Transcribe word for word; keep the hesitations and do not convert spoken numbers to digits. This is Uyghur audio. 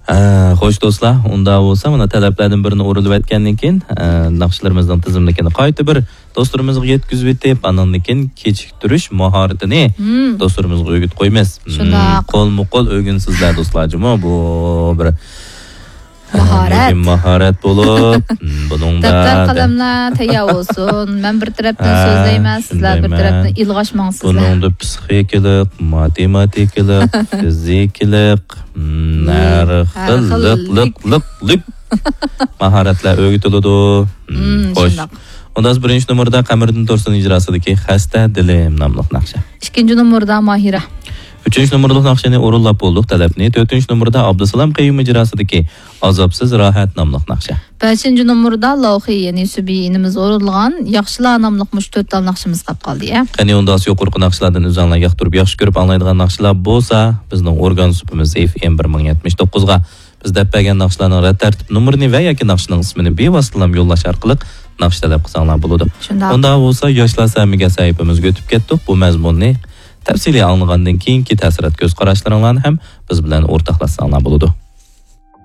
ھە، خوش دوستلار، ئۇنداق بولسا مانا تەلەپلەردىن بىرىنى ئورۇنلىۋەتكەندىن كېيىن، ئە، ناخشىلىرىمىزنىڭ تىزىملىكىنى قايتا بىر دوستلىرىمىزغا يەتكۈزۈۋېتىپ، ئاندىن كېيىن كېچىكتۈرۈش ماھارىتىنى مم. دوستلىرىمىزغا ئۆگىتىپ قويىمىز. شۇنداق. مم، قولمۇ قول ئۆگىنىسىزلەر دوستلار جۇمۇ. بۇ بىر ماھارەت. مۇھىم ماھارەت بولۇپ، مم، بۇنىڭدا دەپتەر، قەلەملەر تەييار بولسۇن. مەن بىر تەرەپتىن ھە، سۆزلەيمەن، سىزلەر بىر شۇندايمەن. تەرەپتىن ئىلغاش ماڭسىزلەر. بۇنىڭدا پسىخىكىلىق، ماتېماتىكىلىق، فىزىكىلىق، مم، ھەر ھەر خىل خىل لىق، لىق، لىق، لىق ماھارەتلەر ئۆگىتىلىدۇ. مم، مم، خوش. شۇنداق. ئۇندا بىرىنچى نومۇردا قەمەردىن تۇرسۇن ئىجراسىدىكى خەستە دىلىم ناملىق ناخشا. ئىككىنچى نومۇردا ماھىرە. ئۈچىنچى نومۇرلۇق ناخشىنى ئورۇنلاپ بولدۇق تەلەپنى. تۆتىنچى نومۇردا ئابدۇسالام قەييۇم ئىجراسىدىكى ئازابسىز راھەت ناملىق ناخشا. بەشىنچى نومۇردا لوخى، يەنى سۈبى ئىنىمىز ئورۇنلىغان ياخشىلار ناملىق مۇشۇ تۆت تال ناخشىمىز قاپ قالدى، يا. قېنى ئۇندا يۇقىرىقى ناخشىلاردىن ئۆزۈڭلار ياقتۇرۇپ ياخشى كۆرۈپ ئاڭلايدىغان ناخشىلار بولسا، بىزنىڭ ئورگان سۇپىمىز ئېف ئېم بىر مىڭ يەتمىش توققۇزغا بىز دەپ بەرگەن ناخشىلارنىڭ رەت تەرتىپ نومۇرىنى ۋە ياكى ناخشىنىڭ ئىسمىنى بىۋاسىتىلام يوللاش ئارقىلىق ناخشا تەلەپ قىلساڭلار بولىدۇ. شۇنداق. ئۇنداق بولسا ياشلار سەمىگە سەھىپىمىزگە ئۆتۈپ كەتتۇق. بۇ مەزمۇننى تەپسىلىي ئاڭلىغاندىن كېيىنكى تەسىرات كۆز قاراشلىرىڭلارنى ھەم بىز بىلەن ئورتاقلاشساڭلار بولىدۇ.